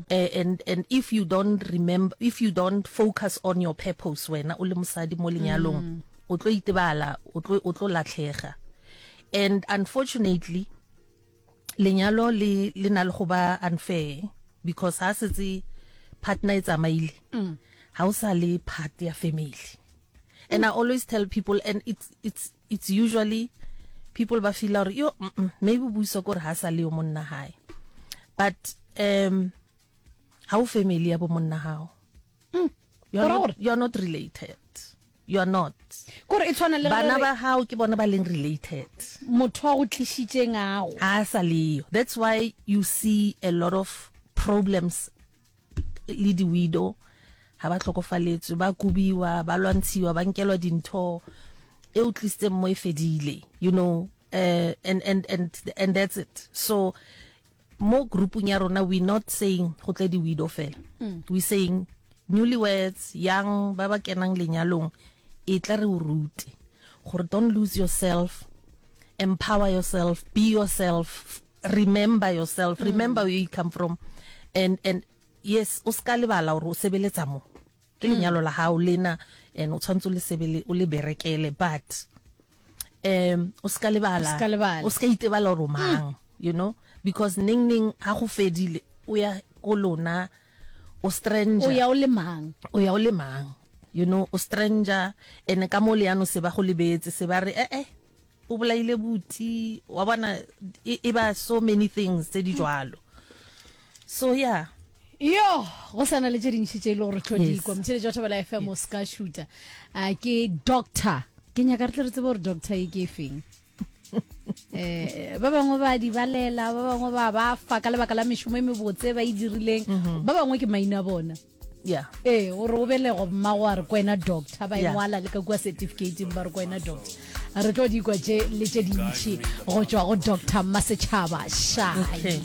Eh, and and if you don't remember if you don't focus on your purpose wena o le mosadi mo lenyalong mm. o tlo itebala o tlo o tlo latlhega and unfortunately lenyalo le le na le go ba unfair because ha setse partner e tsamaile mm. ha o sa le part ya family and i always tell people and it's it's it's usually people ba feel gore yo mm -mm, maybe buisa kore ha sa le yo monna hae but um ha o family ya bo monna hao mm. you are not, you are not related you are not kore e tshwana le bana ba hao ke bona ba leng related motho wa go tlišitšeng ago ha sa leyo that's why you see a lot of problems le di-widow ga ba tlhokofaletswe ba kobiwa ba lwantshiwa ba nkelwa dintho e o tlisitseng mo e fedile you know uh, and, and, and, and that's it so mo groupung ya rona we not saying go tle di-widow fela mm. we saying newlyweds young ba ba kenang lenyalong e tla re o rute gore don't lose yourself empower yourself be yourself remember yourself mm. remember where you come from and and yes o ska lebala gore o sebeletsa mo ke mm. lenyalo la gago lena and o tshwanetse o le sebele o le berekele but um o ska lebala o ska itebala gore o mang mm. you know because neng neng ha go fedile o ya ko lona o stranger o ya o le mang o ya o le mang you know o stranger ene ka mo le yano se ba go lebetse se ba re eh eh O bolaile buti wa bona e, e ba so many things tse di jwalo so yeah yo go sa na le tše dintši tše e le gore tlo di kwa motšheletši wa thobela fm o se ka šuta a ke doctor ke nyaka re tle re tsebe gore doctor e ke e feng eh ba bangwe ba di balela ba bangwe ba ba fa ka lebaka la mešomo e mebotse ba e dirileng mhm. ba bangwe ke maina a bona yeah ee gore o belego mmago a re kwena doctor ba engwala le ka kua certificateng ba re kwena doctor re tlo di kwa tše le tše dintšhi go tšwa go doctor mmasetšhaba shai okay.